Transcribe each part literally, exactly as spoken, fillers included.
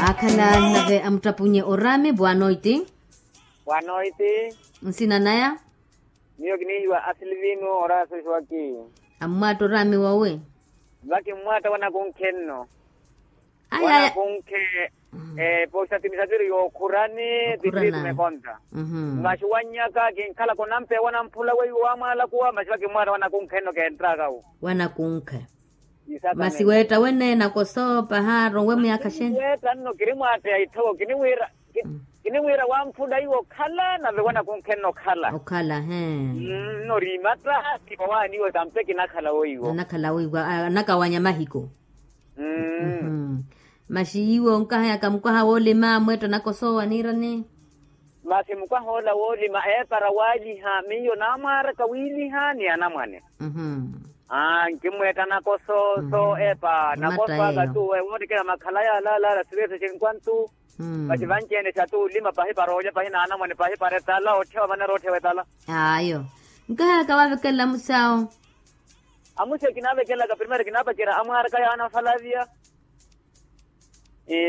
Aakhala nave amuttapunye oraami bwanoiti. Bwanoiti. Nsina naya? Miyo kinihiwa asilivino orasosi waki. Ammwaatta oraami wawe? Vaki mmwaatta wanakunkhe nno. Wanakunkhe. Pooxatimixatiri yookhurani. Tikhurani. Mekonta. Maxi wannyaka kinkhalaka onampeya wanamphula weiwo wamwaalakuwa maxi vaki mmwaatta wanakunkhe nno kenttakawo. Wanakunkhe. Masi weetta wene nakoso pahaaro we myaakha xene? Weetta nno kiri mwaatteya itthoko kiniwiira. Kiniwiira wamphula iwo okhala nave wanakunkhe nno okhala. Okhala he. Nno riimatta. Kipawaani iwo tampe kinakhala weiwo. Anakhala weiwo anakawanya mahiko. Masi iwo onkahayaka mukwaha woolima mweetta nakoso aniirani? Masi mukwaha ola woolima eepara waaliha miyo naamwaaraka wiiliha ni anamwane. Aa nkimmweetta nakoso so eepa nakoso aka tu ewoottekela makhalaya alaala siriyese cinkwantu. Masi vanci-ene xa tu olima pahi para olya pahi n'anamwane pahi para etala otthiwa vaneera otthiwa etala. Ayo. Nkahayaka vaavekelela amusi awo? Amusi kinaavekelelaka primero kinaapacerya amwaaraka yaana falavia.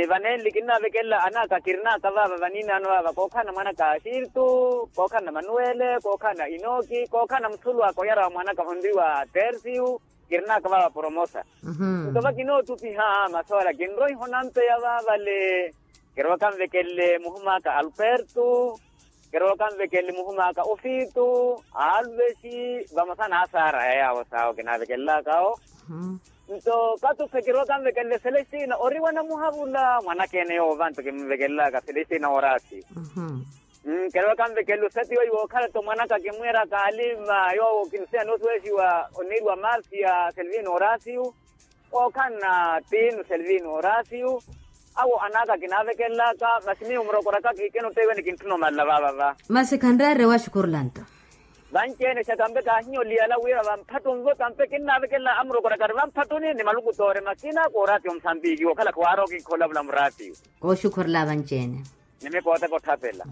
Vanenli kinnaavekelela anaka kirinaka vaava vaniinaano vaava kookhalana mwanaka axirtu, kookhalana manuwele, kookhalana inoki, kookhalana musulu aka oyara wa mwanaka onriwa tersiu. Kirinaka vaava poromosa. Nto vakinootupiha masoora kinroiha onampeya vaavale. Kirowaka nvekelele muhum'aka alpertu. Kirowaka nvekelele muhum'aka ofitu. Alvesi vamosa n'asaara yayaawo saawo kinaavekelelaka awo. Nto katuphe kirowaka nvekelele selestina oriwa namuhavula mwanaka ene yoowo vanto kinvekelelaka selestina oraasi. Kerowaka nvekelele oseti weiwo okhala to mwanaka kimwiraka alima yoowo kinsina noosiwesiwa oniiriwa marcia selvino oraasiyu. Ookhanna tiinu selvino oraasiyu. Awo anaka kinaavekelelaka masi miyo murokoraka kiikena otteiwene kintthuna omalela vaavava. Masi khanreere waxukurulanto. Vanci-ene xa tampe kaahinyoliyala wira vamphattunvo tampe kinnaavekelela amurokoraka ari vamphattuni ni malukutoore makina kooraatiyo musambiki wookhalaka waarooki nkholavula muraatiyo. Kooxukhurula vanci-ene. Ni mikooteka otthapela.